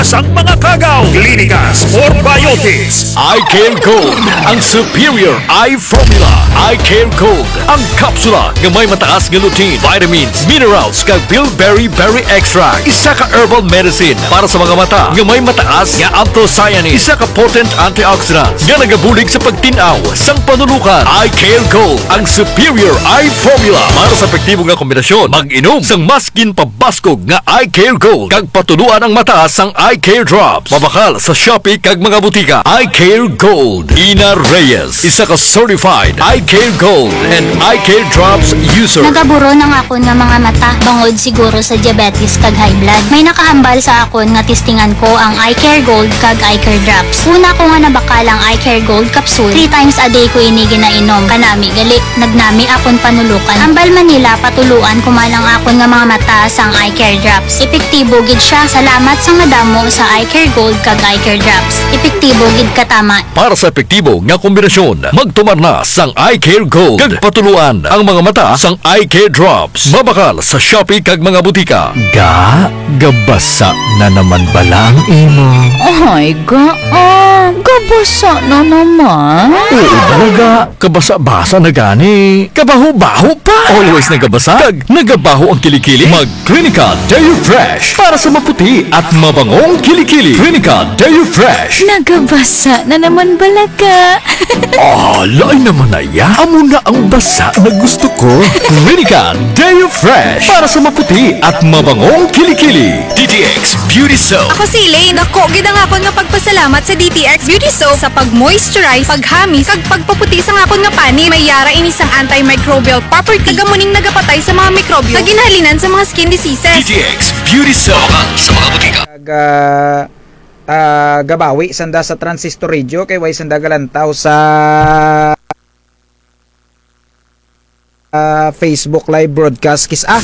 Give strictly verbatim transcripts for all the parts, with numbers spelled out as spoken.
sang mga kagaw, klinikas, or biotics. Eye Care Gold, ang superior eye formula. Eye Care Gold, ang kapsula nga may mataas nga lutein, vitamins, minerals, kag bilberry berry extract. Isa ka herbal medicine para sa mga mata nga may mataas nga anthocyanins. Isa ka potent antioxidant nga nagabulig sa pagtin-aw sang panulukan. Eye Care Gold, ang superior eye formula para sa epektibo nga kombinasyon. Mag-inom sang mas ginpabaskog nga Eye Care Gold, kag patuloan ang mata sang Eye Care Drops. Mabakal sa Shopee kag mga butika. Eye Care Gold. Ina Reyes, isa ka certified Eye Care Gold and Eye Care Drops user. Nagaburon ang akon nga mga mata, bangod siguro sa diabetes kag high blood. May nakahambal sa akon nga testingan ko ang Eye Care Gold kag Eye Care Drops. Una ko nga nabakal ang Eye Care Gold capsule, three times a day ko ini ginainom. Kanami gali, nagnami akon panulukan. Hambal man nila, patuloan ko man ang akon nga mga mata sang Eye Care Drops. Epektibo gid siya. Salamat sa madamo sa Eye Care Gold kag Eye Care Drops. Epektibo gid katama. Para sa epektibo nga kombinasyon, magtumar na sang Eye Care Gold kag patuloan ang mga mata sang Eye Care Drops. Mabakal sa Shopee kag mga butika. Ga, gabasa na naman bala ang imo? Ay, ga, ah, gabasa na naman. Oo, talaga. Kabasa-basa na gani. Kabaho-baho pa. Always nagabasa. Kag nagabaho ang kilikili. Mag Clinica Deo Fresh para sa maputi at mabangong kilikili. Clinica Deo Fresh. Nagabasa na naman bala ka. Ah, lain naman na ya. Amo na ang basa na gusto ko. Clinica Deo Fresh para sa maputi at mabangong kilikili. D T X Beauty Soap. Ako si Elaine. Dako gid ang akon nga pagpasalamat sa D T X Beauty Soap sa pag-moisturize, paghamis, kag pagpaputi sang akon nga panit. May yara ini sang antimicrobial property, kag amo ning nagapatay sa mga mikrobyo nga ginhalinan sa mga skin diseases. D T X Beauty Soap. Mabakal sa mga butika. Kag, ah, ah, gabawi sanda sa Transistor Radio kay way sanda galantaw sa, ah, Facebook live broadcast kis-a.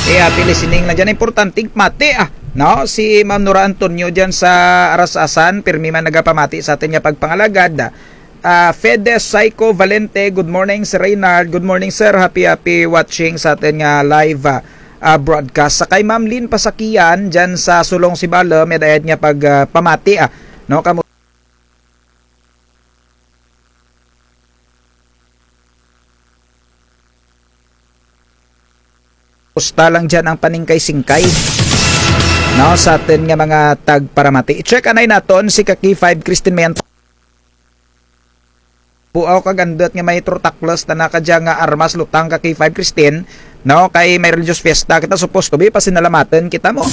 Eh, happy listening lang dyan. Importante pamati, ah. No? Si Ma'am Nora Antonio dyan sa Aras-asan, pirmi man nagapamati sa atun nga pagpangalagad. Ah, Fede Psycho Valente, good morning, Sir Reynard. Good morning, sir. Happy, happy watching sa atun nga live, ah, ah, broadcast. Sa kay Ma'am Lynn Pasakian, dyan sa Sulong Sibalom, may dayad nga pag, ah, pamati, ah. No, kamo Kumusta lang dyan ang paningkay-singkay, no, sa atun nga mga tagparamati. I-check anay natun si ka K five Christine Mayan. Buaw kag andut nga may trotakles tana kadya nga armas lutang ka K five Christine, no, kay may religious fiesta kita, supposed to be, pasinalamatan kita mo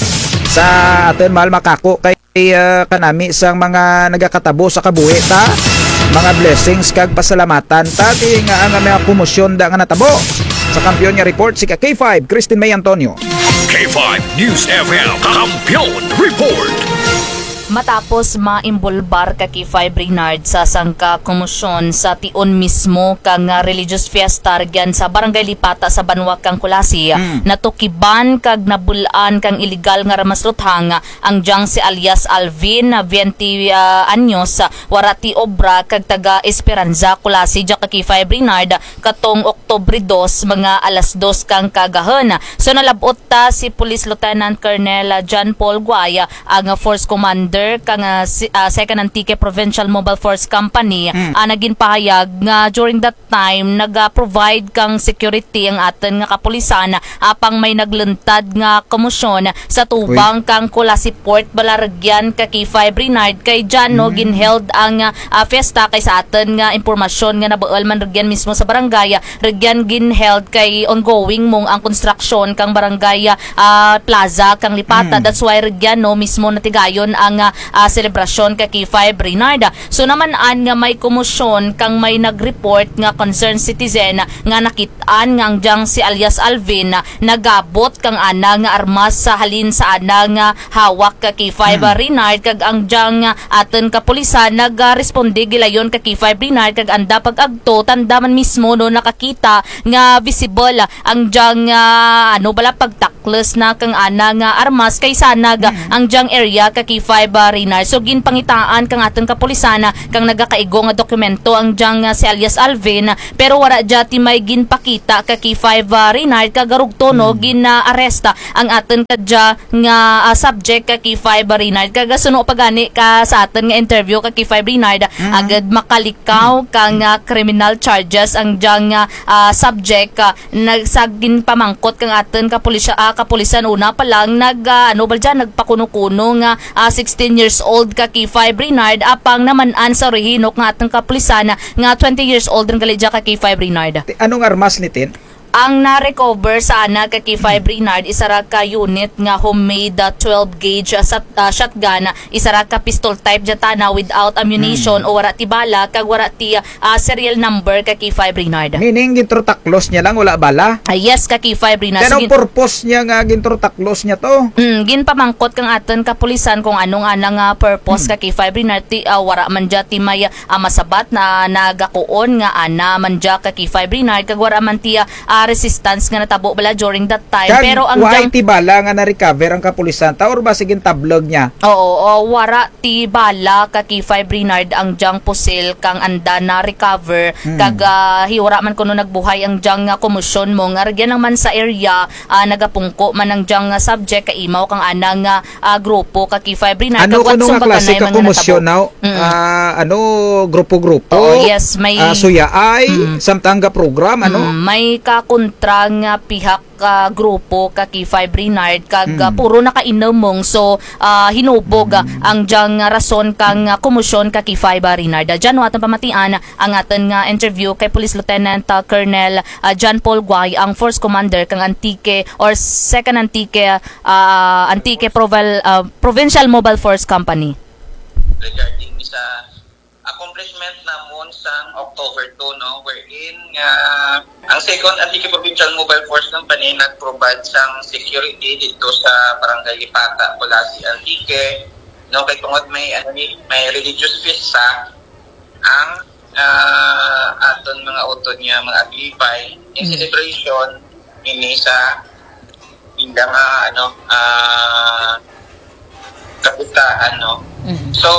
sa atun mahal makako kay, ah, kanami sang mga nagakatabo sa kabuhi ta, mga blessings kag pasalamatan ta, ti nga ang mga komosyon da nga natabo. Sa Kampiyon nga report, si ka K five, Christine May Antonio. K five News F M, Kampiyon Report. Matapos maimbulbar ka K five Reynard sa sangka komosyon sa tion mismo kang, ah, religious fiesta rugyan sa Barangay Lipata sa banwa kang Culasi, mm, natukiban kag nabul-an kang iligal nga armas luthang ang dyang si alias Alvin, ah, bente, ah, anyos, ah, wara ti obra kag taga Esperanza, Culasi, dya ka K five Reynard, katong Oktubre dos, mga alas dos kang kaagahun. So, nalab-ot ta si Police Lieutenant Colonel, ah, John Paul Guay, ah, ang, ah, Force Commander kang, ah, si-, ah, Second Antique Provincial Mobile Force Company, mm, ah, naginpahayag nga during that time, naga-provide kang security ang atun nga kapulisan, apang may nagluntad nga komosyon sa tubang, uy, kang Culasi Port, bala rugyan ka K five Reynard, kay dyan, no, mm, ginheld ang, ah, fiesta, kay sa atun nga impormasyon nga nabuul man rugyan mismo sa barangay, ah, rugyan ginheld kay ongoing mong ang construction kang barangay, ah, plaza kang Lipata. Mm. That's why rugyan, no, mismo natigayon ang, ah, ah, selebrasyon ka K five Reynard. So, naman-an nga may komosyon kang may nag-report nga concerned citizen nga nakit-an nga ang dyang si alias Alvin nagabot kang ana nga armas sa halin sa ana nga hawak ka K five, hmm, Reynard, kag ang dyang atun kapulisan nagaresponde gilayon ka K five Reynard, kag anda pag-agto, tanda man mismo, no, nakakita nga visible ang dyang, ah, ano bala, pagtak- kles na kang ana nga armas kay sanag, mm, ang dyang area ka K five ah, Reynard. So, ginpangitaan kang atun kapulisan, ah, kang nagakaigo nga dokumento ang dyang, ah, si alias Alvin, ah, pero wara dya ti may ginpakita ka K five, ah, Reynard, kag rugto, no, gin-arrest, ah, ang atun kadya nga, ah, subject ka K five, ah, Reynard. Kag suno pa gani ka sa atun nga interview ka K five, Reynard, agud makalikaw kang, ah, criminal charges ang dyang, ah, ah, subject, ah, nag-, sa ginpamangkot kang atun kapulisya-, ah, kapulisan una pa lang nag, ah, ano ba dyan, nagpakuno-kuno nga, ah, sixteen years old ka K five, Reynard, apang naman-an sa orihinok nga atun kapulisan nga twenty years old run gali dya ka K five, Reynard. Ti-, anong armas ni Tin? Ang na-recover sa ana ka K five, Reynard, isara ka unit nga homemade, ah, twelve gauge, ah, sat-, ah, shotgun, isara ka pistol type dya tana without ammunition o wara ti bala, kag wara ti, ah, ah, serial number ka K five, Reynard. Meaning, gintrotaklos niya lang, wala bala? Ah, yes, ka K five, Reynard. Ti anong purpose niya nga gintrotaklos niya to? Mm, ginpamangkot kang atun kapulisan kung anong ana nga purpose ka K five, Reynard. Ti, ah, wara man dya ti may, ah, masabat na nagakuon nga ana man dya ka K five, Reynard, kag wara man ti, ah, ah, resistance nga natabo bala during that time. Kag pero ang wara ti bala nga na-recover ang kapulisan ta, or basi gintablog niya? Oo, o, wara ti bala ka K five, Reynard, ang dyang pusil kang anda na-recover, kag, ah, hi-, wara man kuno nagbuhay ang dyang, ah, komosyon mo nga rugyan lang man sa area, ah, nagapungko man ang dyang, ah, subject kaimaw kang ana nga, ah, grupo ka K five, Reynard. Ano kuno nga klase ka komosyon, no? Ah, ano, grupo-grupo? Oo, yes, may, ah, suyaay, samtang gaprogram, ano? Mm, may kakontra nga pihak ka grupo ka K five, Reynard, kag, ah, puro nakainom mong. So, ah, hinubog, ah, ang dyang rason kang, ah, komosyon ka K five, ah, Reynard. Ah, dyan, no, atun pamatian ang atun nga interview kay Police Lieutenant, ah, Colonel, ah, John Paul Guay, ang Force Commander kang Antique or Second Antique, ah, Antique Proval-, ah, Provincial Mobile Force Company. Regarding sa accomplishment namon sang October two, no, wherein nga ang Second Antique Provincial Mobile Force Company nag-provide sang security dito sa Barangay Lipata, Culasi, Antique, no, kay tungod may, ano ni, may religious feast sa ang, ah, aton mga utod nga mga Aglipay, in celebration ini sa ila nga, ano, ah, kapitaan, no? So,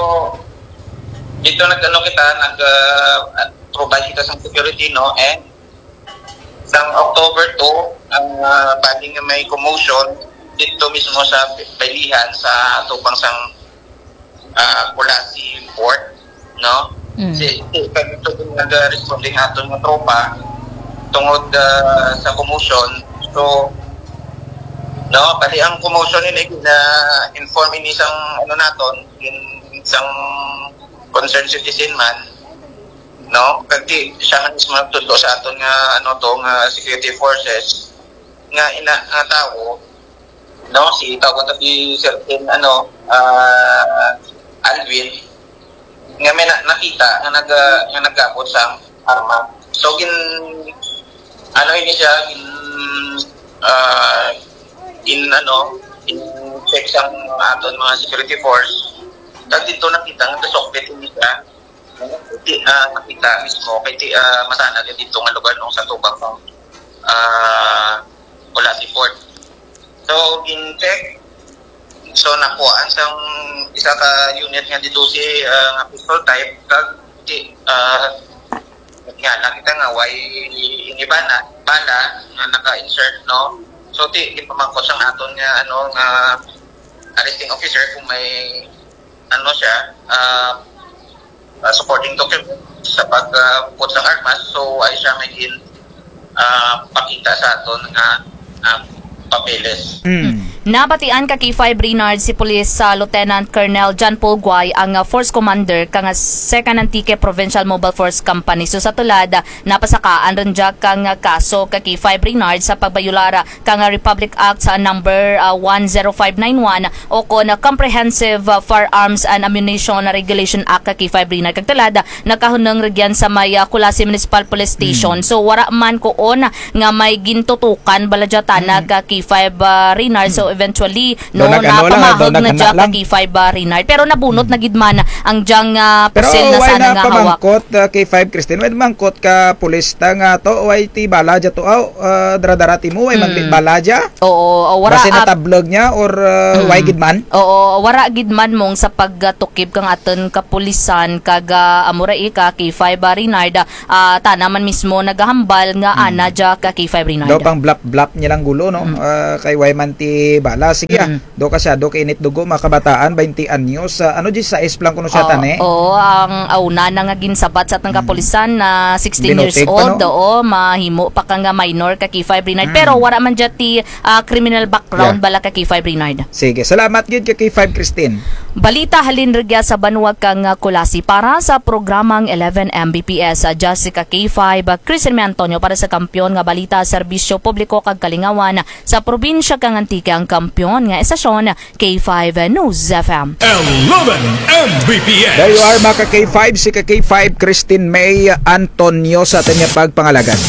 dito nag-, ano kita, nag, ah, provide kita sa security, no? And sa October two, ang, ah, bali nga may commotion dito mismo sa Baylihan, sa tubang sang ah, Culasi Fort, no? Si, si, kag ito din nag-responde nga aton nga tropa tungod, ah, sa commotion. So, no, bali ang commotion ini na-inform ini sang, ano, naton, in, sang concerned citizen man, no? Kag ti, siya man mismo nagtudlo sa aton nga, ano to, nga security forces, nga ina-, nga tawo, no, si tawag ta si Sir Ken, ano, ah, Alvin, nga may na-, nakita nga nag-, nga nag-abot sang arma. So, gin-, ano ini siya, gin-, ah, gin-, ano, gin-check sang aton mga security force. Kag dito nakita nga gasukbit ini siya. Ti, ah, nakita mismo kay ti, ah, masanad dito nga lugar, no, sa tubang, ah, Culasi Fort. So, gin-check. So, nakuhaan sang isa ka unit nga dito si, ah, nga pistol type, kag ti, ah, nga nakita nga way ini bala, bala nga naka-insert, no? So, ti, ginpamangkot sang aton nga, ano, nga arresting officer kung may ano siya, ah, ah, supporting document sa pag, ah, put sang armas, so ay siya may gin-, ah, pakita sa aton nga, ah, papeles. Nabatian ka K five Reynard si Police, ah, Lieutenant Colonel John Paul Guay ang, ah, Force Commander kang, ah, Second Antique Provincial Mobile Force Company. So sa tulad, ah, napasakaan run dya kang, ah, kaso ka K five Reynard sa pagbayolar, ah, kang, ah, Republic Act sa number, ah, one zero five nine one ukon, ah, Comprehensive, ah, Firearms and Ammunition Regulation Act ka K five Reynard. Kag tulad, ah, nakahunong rugyan sa may, ah, Culasi Municipal Police Station. So, wara man kuon, ah, nga may gintutukan bala dya tana ka K five, ah, Reynard. So, eventually, no, nag-ano lang, ah, daw napamahag na dya ka K five, ah, Reynard. Pero nabunot na gid man ang dyang, ah, pusil na sana nga hawak. Pero wala na pamangkot, ah, K five Christine, wala mangkot ka pulis ta nga to, wala ti bala dya to, aw, ah, dara-dara timo, wala maglit bala dya. Oo, wara, basi ah, natablag niya or, ah, wala gid man? Oo, wara gid man mong sa pagtukib kang atun kapulisan kag, ah, amo ra ika K five, ah, Reynard, ah, tana man mismo nagahambal nga ana dya ka K five Reynard. Daw pang blap-blap niya lang gulo, no? Ah, kay wala man ti bala. Sige, ah. Daw ka siya, daw kainit dugo, mga kabataan, baynte anyos. Ah, ano, diyesisais pa lang kuno siya, tani? Oo, ang, ah, una na nga ginsabat sa atun kapulisan na sixteen years old, oo, mahimo pa ka nga minor ka K five Reynard. Pero wara man dya ti ah, criminal background bala ka K five Reynard. Sige, salamat gid ka K five Christine. Balita halin rugya sa banwa kang, ah, Culasi para sa programang eleven M B P S, ah, dya si ka K five, ah, Christine May Antonio para sa Kampiyon nga Balita, Serbisyo Publiko kag Kalingawan sa probinsya kang Antique, ang kampiyon nga estasyon K five News F M. Eleven M B P S. There you are, mga ka K five, si ka K five Christine May Antonio sa atun nga pagpangalagad.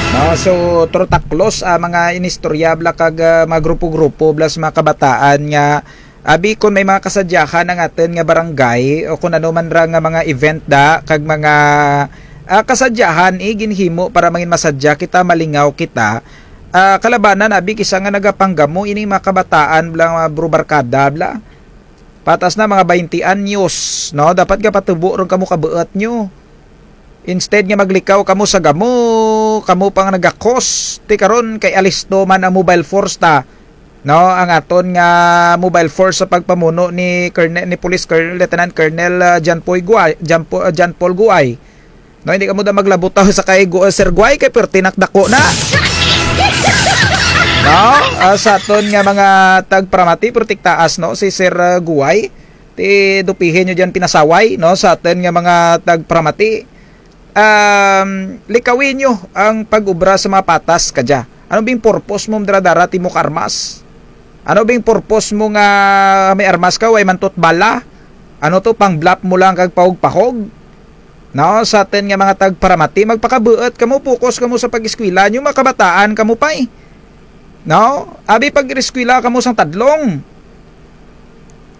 No, so, turo ta close, ah, mga inistorya bala kag, ah, mga grupo-grupo bala sa mga kabataan nga, abi, kon may mga kasadyahan ang atun nga barangay o kon ano man ra nga mga event da kag mga, ah, kasadyahan, eh, ginhimo para mangin masadya kita, malingaw kita, ah, kalabanan, abi, kis-a nga nagapanggamo ining mga kabataan bala, mga bro barkada bala. Patas na mga baynte anyos, no? Dapat gapatubo run kamo kabuut nyo. Instead nga maglikaw kamo sa gamo, kamo pa nga naga-cause. Ti karon kay alisto man ang mobile force ta. No, ang atun nga mobile force sa pagpamuno ni Colonel, ni Police Colonel, Lieutenant Colonel, ah, John Paul Guay, John Po-, ah, John Paul Guay. No, hindi kamo da maglabutaw sa kay Gu-, Sir Guay, kay perti na ka dako na. No? Ah, sa atun nga mga tagparamati, perti ka taas, no, si Sir, ah, Guay. Ti dupihi nyo dyan pinasaway, no, sa atun nga mga tagparamati. Um, likawi nyo ang pag-obra sa mga patas kadya. Ano bing purpose mo dara-dara timo ka armas? Ano bing purpose mo nga may armas ka, way man to ti bala? Ano to, pang-bluff mo lang kag pahog-pahog? No, sa atun nga mga tagparamati, magpakabuut kamo, focus kamo sa pag-eskwela nyo, mga kabataan kamo pay. No? Abi, pag-eskwela kamo sang tadlong.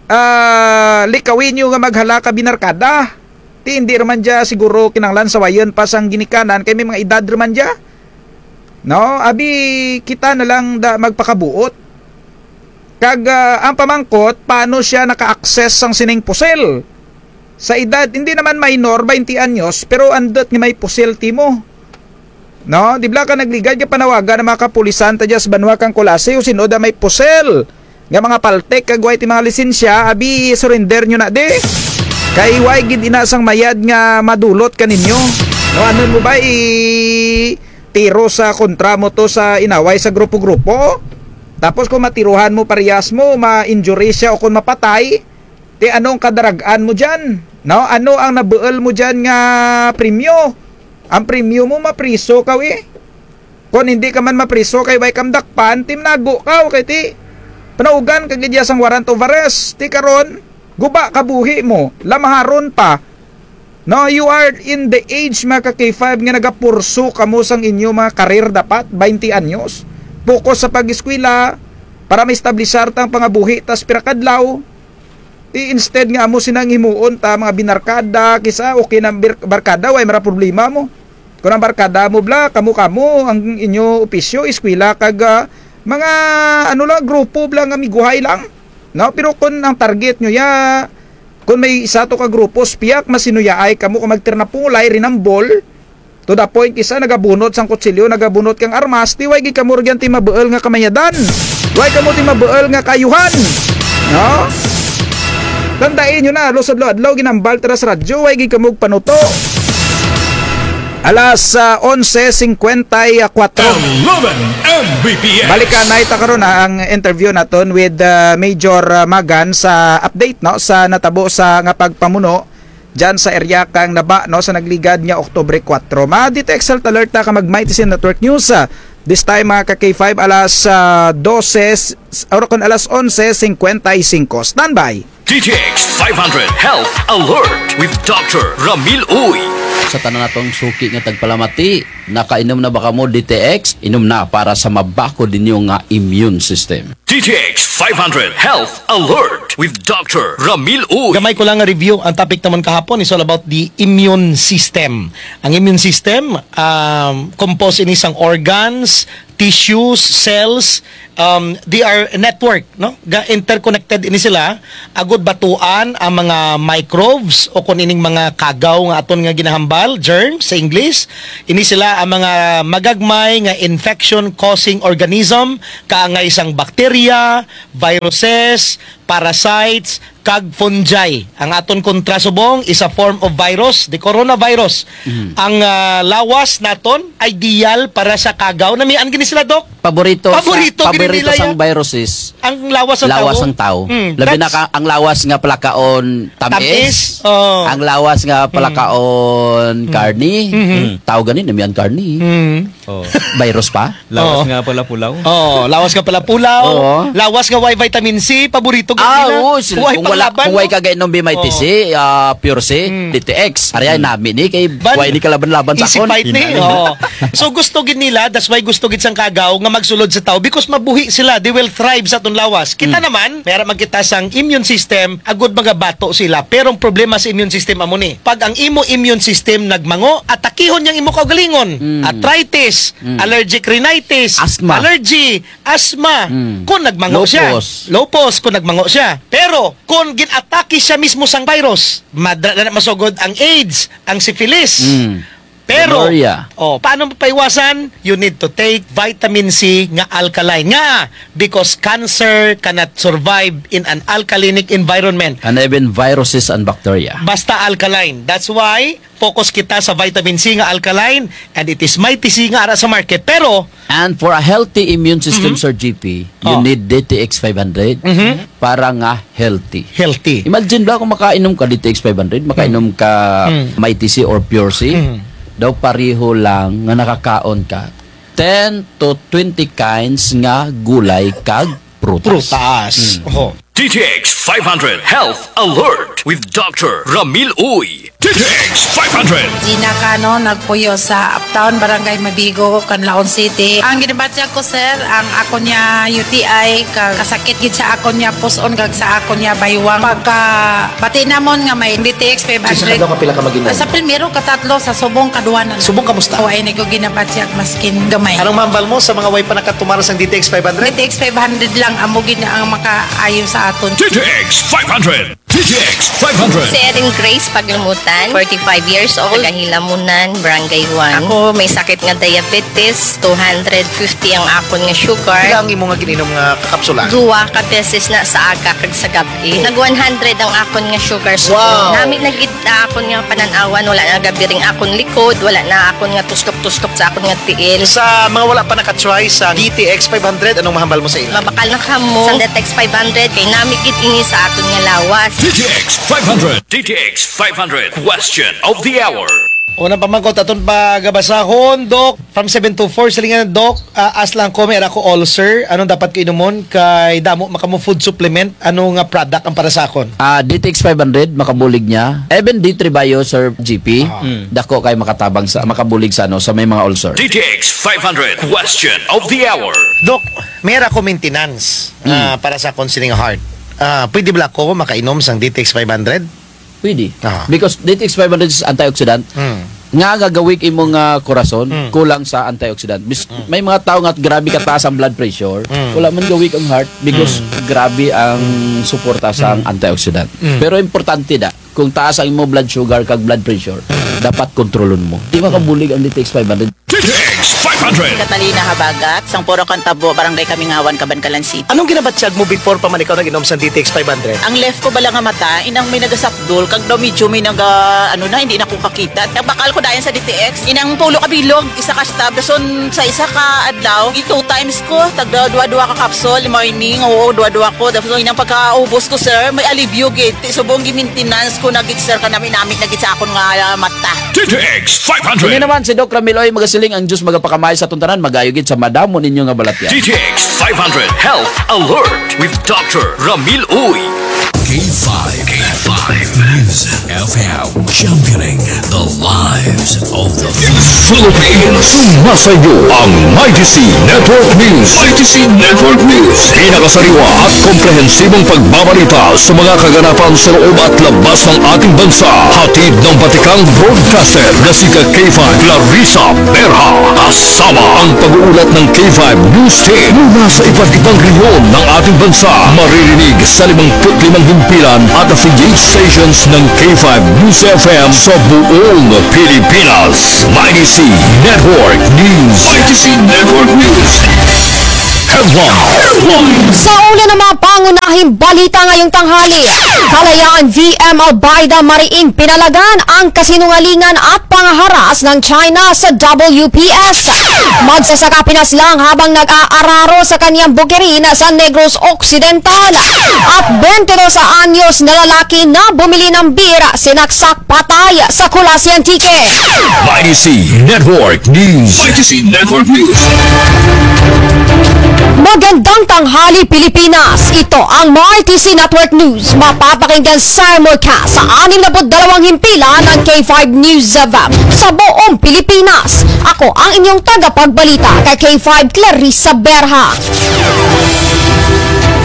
Ah, likawi nyo nga maghala ka binarkada. Ti indi ra man dya siguro kinahanglan sawayun pa sang ginikanan, kay may mga edad ra man dya. No? Abi, kita na lang da magpakabuut. Kag, ah, ang pamangkot, paano siya naka-access sang sining pusil? Sa edad, hindi naman minor, baynte anyos, pero andut nga may pusil timo. No, di bala ka nagligad ka panawagan ang mga kapulisan ta dya sa banwa kang Culasi, o sin-o da may pusil nga mga paltik kag way ti mga lisensya, abi, surrender nyo na di. Kay way gid ina sang mayad nga madulot kaninyo. No, ano mo ba, i-tiro sa kontra mo to sa inaway sa grupo-grupo? Tapos kung matiruhan mo parehas mo, ma-injury siya o kung mapatay, ti ano ang kadarag-an mo dyan? No? Ano ang nabuul mo dyan nga premyo? Ang premyo mo, mapriso kaw, eh. Kon hindi ka man mapriso kay way kam dakpan, ti manago kaw, kay ti panaugan ka gid ya sang warrant of arrest. Ti karon, guba kabuhi mo, lamaharon pa. No, you are in the age, mga ka K five, nga nagapurso kamo sang inyo mga karir dapat, baynte anyos. Focus sa pag-eskwela, para maestablisar ta ang pangabuhi ta sa pira ka adlaw. Ti instead nga amo sina ang himuon ta, mga binarkada, kis-a, okay na bir-, barkada, way mara problema mo. Kon ang barkada mo bala, kamo-kamo, ang inyo opisyo, eskwela, kag, ah, mga, ano lang, grupo bala nga miguhay lang. No? Pero kon ang target nyo ya, kon may isa to ka grupo, spiak, masinuyaay kamo, kon magtirnapulay, rinambol, to the point, kis-a nagabunot sang kutsilyo, nagabunot kang armas, ti way gid kamo rugyan ti mabuul nga kamayadan. Way kamo ti mabuul nga kaayuhan. No? Tandai nyo na, halos adlaw-adlaw ginahambal ta ra sa radyo, way gid kamo panuto. Alas, ah, onse singkwenta y kuwatro. Eleven M B P S. Balikanay ta karon, ah, ang interview naton with, ah, Major, ah, Magan sa update, no, sa natabo sa nga pagpamuno dyan sa area kang Naba, no, sa nagligad nga Oktubre kuwatro. Ma-D T X Health Alert ta kag mag-Mighty C N Network News, ah, this time, mga ka K five, alas, ah, dose, s-, or kon alas onse singkwenta y singko. Standby! D T X five hundred Health Alert with Doctor Ramil Uy. Sa tanan natong suki nga tagpalamati, nakainom na ba kamo D T X? Inom na para sa mabakod ninyo nga immune system. D T X five hundred Health Alert with Doctor Ramil Uy. Gamay ko lang nga review ang topic namon kahapon is all about the immune system. Ang immune system, um, composed ini sang organs, tissues, cells, um, they are network, no? Ga-, interconnected ini sila. Agud batuan ang mga microbes o kon ining mga kagaw nga aton nga ginahambal, germs sa English. Ini sila ang mga magagmay nga infection-causing organism, kaangay sang bacteria, viruses, parasites, kag fungi. Ang aton kontra subong is a form of virus, the coronavirus. Mm. Ang, ah, lawas naton ideal para sa kagaw. Namian gid ni sila, Doc. Paborito sa, Paborito gid paborito nila sang yan. Viruses. Ang lawas sang Lawas tawo. sang tawo. Mm, Labi na that's ka, ang lawas nga palakaon tamis. Tamis, oh. Ang lawas nga Mm. palakaon Mm. karni. Mm-hmm. Tawo gani, namian karni. Mm. Oh. Virus pa? Lawas Oo. nga pala pulaw. Oo, lawas nga pala pulaw. Oo. Lawas nga way vitamin C, paborito gid Ah, nila. oo, sila. Way Kung wala, panglaban, kung way no? ka gainom B M I T C, Oo. ah, Pure C, Mm. D T X. Ari ay Mm. nami ni kay Ban-, way ni kalaban-laban sa easy akon. fight ni. Hinay. Oo. So gusto gid nila, that's why gusto gid sang kagaw nga magsulod sa tawo because mabuhi sila, they will thrive sa aton lawas. Kita Mm. naman, may ara man kita sang immune system, agud magabato sila. Pero ang problema sa immune system amo ni, pag ang imo immune system nagmango, atakihon niyang imo kaugalingon. Mm. Arthritis, Mm. allergic rhinitis, Asthma. allergy, asthma. Mm. Kung nagmango siya. Lupus. Lupus, kung nagmango siya. Pero, kung ginatake siya mismo sang virus, madra na masugod ang AIDS, ang syphilis. Mm. Pero, Gonorrhea. oh, paano mapaiwasan? You need to take vitamin C nga alkaline. Nga, because cancer cannot survive in an alkalinic environment. And even viruses and bacteria. Basta alkaline. That's why, focus kita sa vitamin C nga alkaline, and it is Mighty C nga ara sa market. Pero, And for a healthy immune system, Mhm. Sir G P, you Oh. need D T X five hundred Mhm. para nga healthy. Healthy. Imagine ba kung makainom ka D T X five hundred, makainom ka Mm. Mighty C or Pure C, Mm. daw pareho lang nga nakakaon ka ten to twenty kinds nga gulay kag prutas. Prutas. Mm. Oho. D T X five hundred Health Alert with Doctor Ramil Uy. D T X five hundred. Gina Cano, nagpuyo sa Uptown, Barangay Mabigo, Canlaon City. Ang ginabatyag ko, sir, ang akon nga U T I, kag kasakit gid sa akon nga pus-on, kag sa akon nga baywang. Pagkabati namon nga may D T X five hundred. Sa kadlaw, kapila ka mag-inom? Sa primero, katatlo, sa subong, kaduha na. Subong, kamusta? Wa ni ko ginabatyag, maskin gamay. Anong mahambal mo sa mga way pa nakatumar sang D T X five hundred? D T X five hundred lang, amo gid ang makaayo sa aton. D T X five hundred. D T X five hundred. Si Erin Grace Paglumutan, forty-five years old, taga Hilamunan, Barangay one. Ako may sakit nga diabetes, two hundred fifty ang akon nga sugar. Pila ang imo nga gin-inom nga kapsula? Duwa ka beses na sa aga kag sa gab-i. Nag one hundred ang akon nga sugar. Wow. Nami na gid na akon nga panan-awan, wala na gabiring akon likod, wala na akon nga tustok-tustok sa akon nga tiil. Sa mga wala pa naka-try sa D T X five hundred, anong mahambal mo sa ila? Mabakal na kamo sa D T X five hundred, kay nami gid ini sa aton nga lawas. D T X five hundred. D T X five hundred. Question of the hour. Unang pamangkot aton pagabasahon, Doc. From seven two four, silingan, Doc, ah, ask lang ko, may ara ko ulcer. Anong dapat ko inumon? Kay damo man kamo food supplement. Ano nga product ang para sa akon? Ah, D T X five hundred, makabulig niya. Even D three Bio, Sir G P, Ah. Mm. dako kay makatabang sa, makabulig sa, ano, sa may mga ulcer. D T X five hundred, question of the hour. Doc, may ara ko maintenance, Mm. ah, para sa akon sining heart. Ah, pwede bala ko makainom sang D T X five hundred? Pwede. Ah. Because D T X five hundred is antioxidant. Mm. Nga, nga ga-weak imo nga korason, Mm. kulang sa antioxidant. Bis-, Mm. may mga tao nga grabe kataas ang blood pressure, Mm. wala man ga-weak ang heart because Mm. grabe ang suporta sa Mm. antioxidant. Mm. Pero importante da, kung taas ang imo blood sugar kag blood pressure, Mm. dapat kontrolon mo. Di makabulig ang D T X five hundred. D T X five hundred. Catalina Habagat, sang Purok Cantabo, Barangay Kamingawan, Kabankalan City. Anong ginabatyag mo before pa man ikaw nag-inom sang D T X five hundred? Ang left ko bala nga mata, inang may nagasapdol, kag daw medyo may naga, ano na, hindi na ko kakita. Nagbakal ko dayon sa D T X. Inang tulo ka bilog, isa ka stab. Dason sa isa ka adlaw, i-two times ko, tagda duwa-duwa ka capsule, morning, oo, duwa-duwa ko. Dason inang pagkaubos ko, sir, may alibyo gid. Ti subong gi-maintenance ko na gid, sir, kanami-nami na gid sa akon nga, ah, mata. D T X five hundred. Ini naman si Doc Ramil Uy magasiling, ang Diyos magapakamay sa atong tanan, mag-ayo gid sa madamo ninyo nga balatya. D T X five hundred Health Alert with Doctor Ramil Uy. K five, K five News. F M, championing the lives of the Philippines. Nasa inyo ang Mighty C Network News. Mighty C Network News. Pinakasariwa at komprehensibong pagbabalita sa mga kaganapan sa loob at labas ng ating bansa. Hatid ng batikang broadcaster na si K five Clarissa Berha. Kasama ang pag-uulat ng K five News Team mula sa iba't ibang rehiyon ng ating bansa. Maririnig sa limangput limang himpilan at affiliate stations ng K five News F M sa buong Pilipinas. Mighty C Network News. Mighty C Network News. Headline. Sa ulo ng mga pangunahing balita ngayong tanghali, kalayaan V M Albaida, mariing pinalagan ang kasinungalingan at pangaharas ng China sa W P S. Magsasaka pinaslang habang nag-aararo sa kaniyang bukirin sa Negros Occidental. At bente dos anyos na lalaki na bumili ng beer, sinaksak patay sa Culasi, Antique. Mighty C Network News. Mighty C Network News. Magandang tanghali, Pilipinas. Ito ang Mighty C Network News. Mapapakinggan simulcast sa anim na put dalawang himpilan ng K five News F M sa buong Pilipinas. Ako ang inyong tagapagbalita, kay K five Clarissa Berha.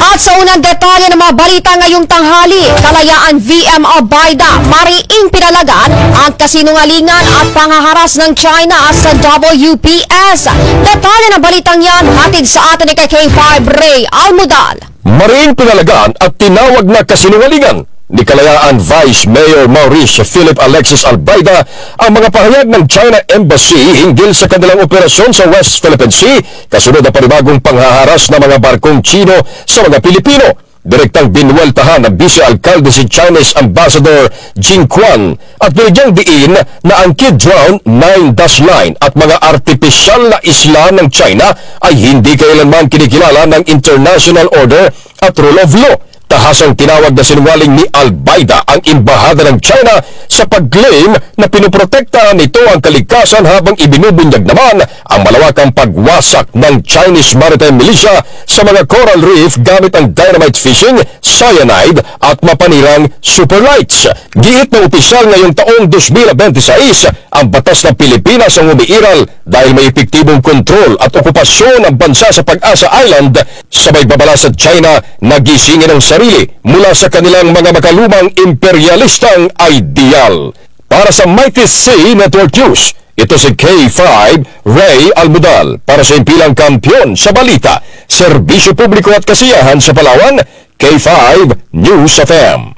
At sa unang detalye ng mga balita ngayong tanghali, kalayaan V M Albaida, mariing pinalagan ang kasinungalingan at pangaharas ng China sa W P S. Detalye ng balitang yan, hatid sa atin ni K five Ray Almudal. Mariing pinalagan at tinawag na kasinungalingan ni kalayaan Vice Mayor Maurice Philip Alexis Albaida ang mga pahayag ng China Embassy hinggil sa kanilang operasyon sa West Philippine Sea, kasunod ng panibagong panghaharas ng mga barkong Chino sa mga Pilipino. Direktang binuweltahan ng Vice Alkalde si Chinese Ambassador Jing Quan at binigyang diin na ang Kidron nine dash line at mga artipisyal na isla ng China ay hindi kailanman kinikilala ng international order at rule of law. Tahasang tinawag na sinungaling ni Albaida ang embahada ng China sa pag-claim na pinoprotektahan nito ang kalikasan habang ibinubunyag naman ang malawakang pagwasak ng Chinese maritime militia sa mga coral reef gamit ang dynamite fishing, cyanide at mapanirang superlights. Giit ng opisyal, ngayong taong dos mil bente sais, ang batas ng Pilipinas ang umiiral dahil may epektibong kontrol at okupasyon ang bansa sa Pag-asa Island, sabay babala sa China na gisingin ang sarili mula sa kanilang mga makalumang imperyalistang ideal. Para sa Mighty C Network News, ito si K five Ray Almudal para sa Himpilang Kampiyon sa Balita, Serbisyo Publiko at Kasiyahan sa Palawan, K five News F M.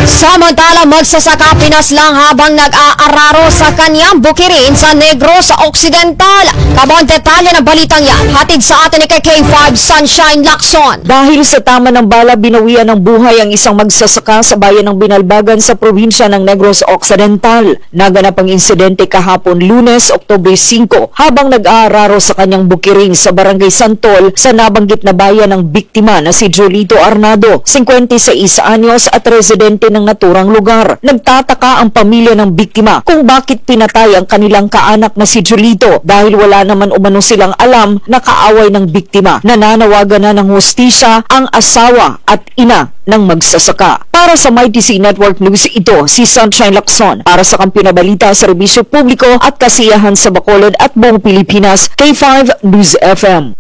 Samantala, magsasaka pinaslang habang nag-aararo sa kaniyang bukirin sa Negros Occidental. Kabuang detalye ng balitang yan, hatid sa atin ni K five Sunshine Lacson. Dahil sa tama ng bala, binawian ng buhay ang isang magsasaka sa bayan ng Binalbagan sa probinsya ng Negros Occidental. Naganap ang insidente kahapon, Lunes, Oktubre singko, habang nag-aararo sa kanyang bukirin sa Barangay Santol sa nabanggit na bayan ang biktima na si Julito Arnado, singkwenta y seis anyos at residente ng naturang lugar. Nagtataka ang pamilya ng biktima kung bakit pinatay ang kanilang kaanak na si Julito dahil wala naman umano silang alam na kaaway ng biktima. Nananawagan na ng hustisya ang asawa at ina ng magsasaka. Para sa Mighty C Network News, ito si Sunshine Lacson para sa Kampiyon na Balita, Serbisyo Publiko at Kasiyahan sa Bacolod at buong Pilipinas, K five News F M.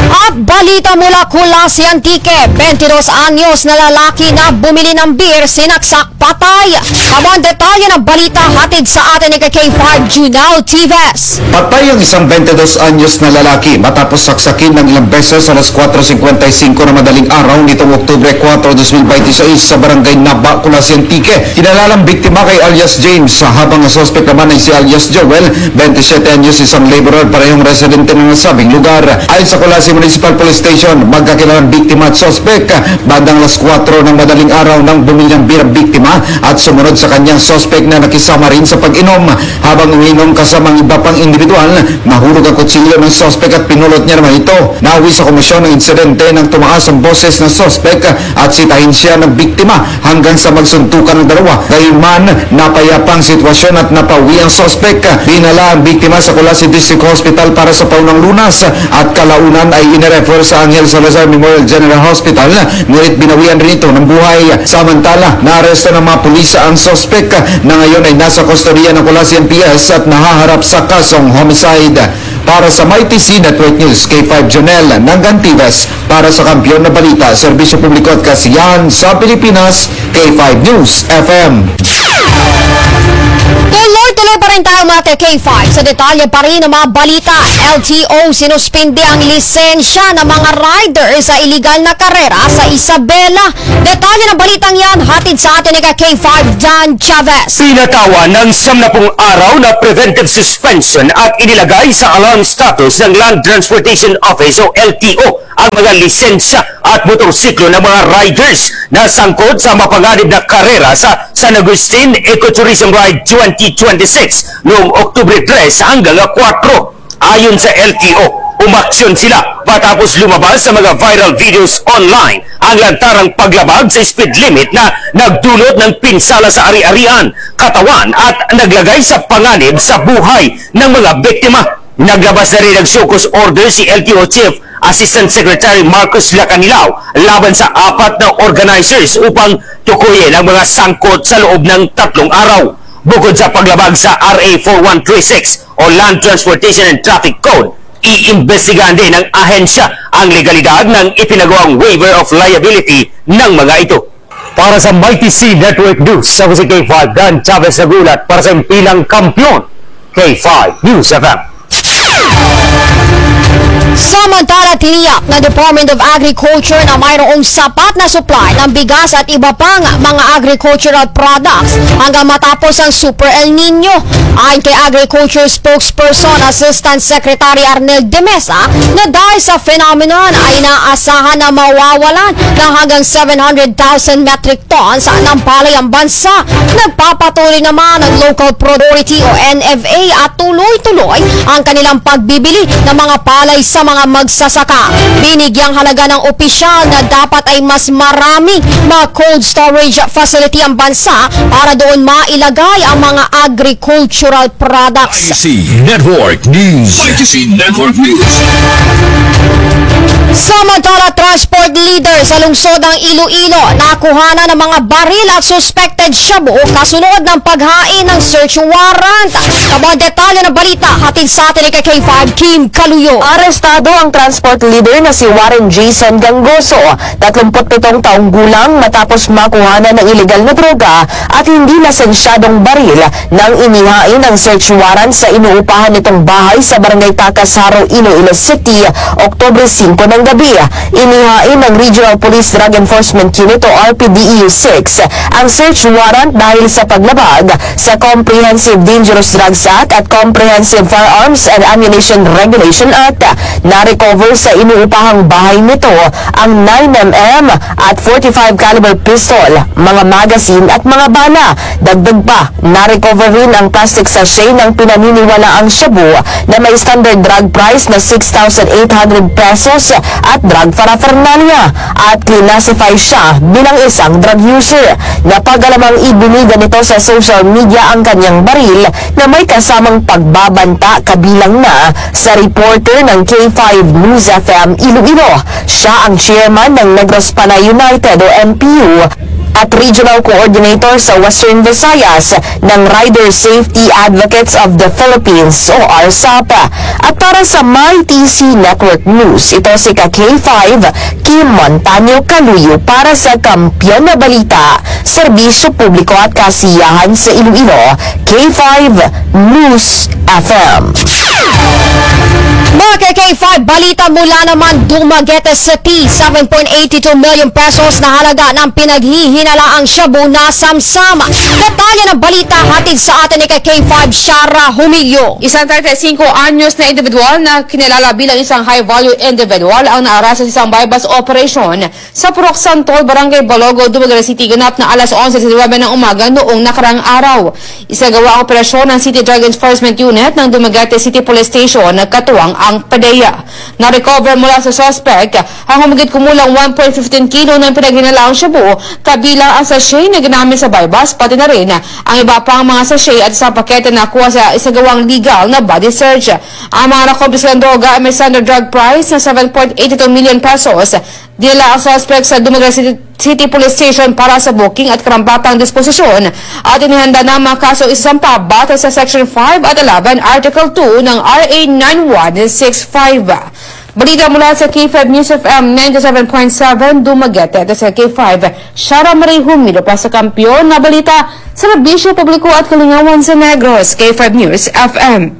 At balita mula Culasi, Antique, bente dos anyos na lalaki na bumili ng beer, sinaksak patay. Kabuang detalye ng balita, hatid sa atin ni K five Junao Tives. Patay ang isang bente dos anyos na lalaki matapos saksakin ng ilang beses alas kwatro singkwenta y singko ng madaling araw nitong Oktubre kwatro, dos mil bente sais sa Barangay Naba, Culasi, Antique. Kilala ang biktima kay alias James, habang ang suspek naman ay si alias Joel, bente siyete anyos, isang laborer, parehong residente ng nasabing lugar. Ayon sa Culasi Municipal Police Station, magkakilala ang biktima at suspek. Bandang alas kwatro ng madaling araw nang bumili ng beer ang biktima at sumunod sa kanyang suspek na nakisama rin sa pag-inom. Habang umiinom kasama ang iba pang indibidwal, nahulog ang kutsilyo ng suspek at pinulot niya naman ito. Nauwi sa komisyon ng insidente nang tumaas ang boses ng suspek at sitahin siya ng biktima hanggang sa magsuntukan ang dalawa. Gayunman, napayapa ang sitwasyon at napauwi ang suspek. Dinala ang biktima sa Culasi District Hospital para sa paunang Punas at kalaunan ay inirefer sa Angel Salazar Memorial General Hospital, ngunit binawian rin ito ng buhay. Samantala, naaresto ng mga pulis ang suspek na ngayon ay nasa kustodiya ng Culasi M P S at nahaharap sa kasong homicide. Para sa Mighty C Network News, K five Jonel Nangantives, para sa Kampiyon na Balita, Serbisyo Publiko at Kasiyahan sa Pilipinas, K five News F M. Tuloy-tuloy pa rin tayo, mga ka-K five. Sa detalye pa rin ng mga balita, L T O sinuspindi ang lisensya ng mga rider sa iligal na karera sa Isabela. Detalye ng balitang yan, hatid sa atin ni ka-K five Dan Chavez. Pinatawan ng siyam na pung araw na preventive suspension at inilagay sa alarm status ng Land Transportation Office o L T O ang mga lisensya at motorsiklo ng mga riders na sangkot sa mapanganib na karera sa San Agustin Ecotourism Ride twenty twenty-six noong Oktubre tres hanggang kwatro. Ayon sa L T O, umaksyon sila matapos lumabas sa mga viral videos online ang lantarang paglabag sa speed limit na nagdulot ng pinsala sa ari-arian, katawan at naglagay sa panganib sa buhay ng mga biktima. Naglabas na rin ng show cause order si L T O Chief Assistant Secretary Marcos Lacanilao laban sa apat na organizers upang tukuyin ang mga sangkot sa loob ng tatlong araw. Bukod sa paglabag sa R A four one three six o Land Transportation and Traffic Code, iimbestigahan din ng ahensya ang legalidad ng ipinagawang waiver of liability ng mga ito. Para sa Mighty C Network News, ako si K five Dan Chavez nagulat para sa Himpilang Kampiyon, K five News F M. Samantala, tiniyak ng Department of Agriculture na mayroong sapat na supply ng bigas at iba pang mga agricultural products hanggang matapos ang Super El Nino. Ayon kay Agriculture Spokesperson Assistant Secretary Arnel de Mesa, na dahil sa phenomenon ay inaasahan na mawawalan ng hanggang seven hundred thousand metric tons ng palay ang bansa. Nagpapatuloy naman ang Local Priority o N F A at tuloy-tuloy ang kanilang pagbibili ng mga palay sa mga magsasaka. Binigyang halaga ng opisyal na dapat ay mas maraming mga cold storage facility ang bansa para doon mailagay ang mga agricultural products. I C Network News. I C Network News. Samantala, transport leader sa lungsod ng Iloilo, nakuhanan ng mga baril at suspected shabu kasunod ng paghain ng search warrant. Kabuang detalye ng balita, hatid sa atin ni K five Kim Kaluyo. Arestado ang transport leader na si Warren Jason Gangoso, tatlumput pitong taong gulang, matapos makuhanan ng ilegal na droga at hindi lisensyadong baril nang inihain ang search warrant sa inuupahan nitong bahay sa Barangay Tacas, Jaro, Iloilo City, Oktubre singko ng gabi. Inihain ng Regional Police Drug Enforcement Unit o R P D E U six ang search warrant dahil sa paglabag sa Comprehensive Dangerous Drugs Act at Comprehensive Firearms and Ammunition Regulation Act. Na-recover sa inuupahang bahay nito ang nine M M at forty-five caliber pistol, mga magazine at mga bala. Dagdag pa, na-recover rin ang plastic sachet ng pinaniniwalaang shabu na may standard drug price na six thousand eight hundred pesos at drug paraphernalia, at classify siya bilang isang drug user. Napag-alamang ibinida nito sa social media ang kanyang baril na may kasamang pagbabanta, kabilang na sa reporter ng K five News F M Iloilo. Siya ang chairman ng Negros Panay United o N P U at Regional Coordinator sa Western Visayas ng Rider Safety Advocates of the Philippines o RSAP. At para sa Mighty C Network News, ito si ka K five, Kim Montaño Kaluyo para sa Kampiyon na Balita, Serbisyo Publiko at Kasiyahan sa Iloilo, K five News F M. Mga ka K five, balita mula naman Dumaguete City, seven point eight two million pesos na halaga ng pinaghihinalaang shabu nasamsam. Detalye ng balita hatid sa atin ni ka K five Shara Humilio. Isang treinta y cinco anyos na individual na kinilala bilang isang high-value individual ang naaresta sa isang buy-bust operation sa Purok Santol, Barangay Balogo, Dumaguete City, ganap na alas onse disinuybe ng umaga noong nakaraang araw. Isagawa ang operasyon ng City Drug Enforcement Unit ng Dumaguete City Police Station, katuwang ang PDEA. Na-recover mula sa suspek ang humigit kumulang one point fifteen kilo ng pinaghinalaang shabu, kabilang ang sachet na ginamit sa buy-bust, pati na rin ang iba pang mga sachet at isang pakete na nakuha sa isagawang legal na body search. Ang mga nakumpiskang droga ay may standard drug price na seven point eight two million pesos. Dinala ang suspek sa Dumaguete City, City Police Station para sa booking at karampatang disposisyon at inihanda na ang mga kasong isasampa batay sa Section five at eleven, Article two ng R A nine one six five. Balita mula sa K five News F M ninety-seven point seven Dumaguete, ito sa K five, Shara Marie Humido para sa Kampiyon nga Balita, Serbisyo Publiko at Kalingawan sa Negros, K five News F M.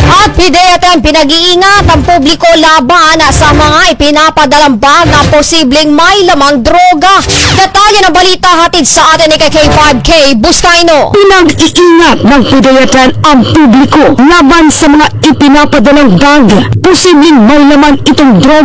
At PDEA ten, pinag-iingat ang publiko laban sa mga ipinapadalang bag na posibleng may lamang droga. Detalye ng balita hatid sa atin ni K five Kay Buscaino. Pinag-iingat ng PDEA ten ang publiko laban sa mga ipinapadalang bag posibleng may laman itong droga.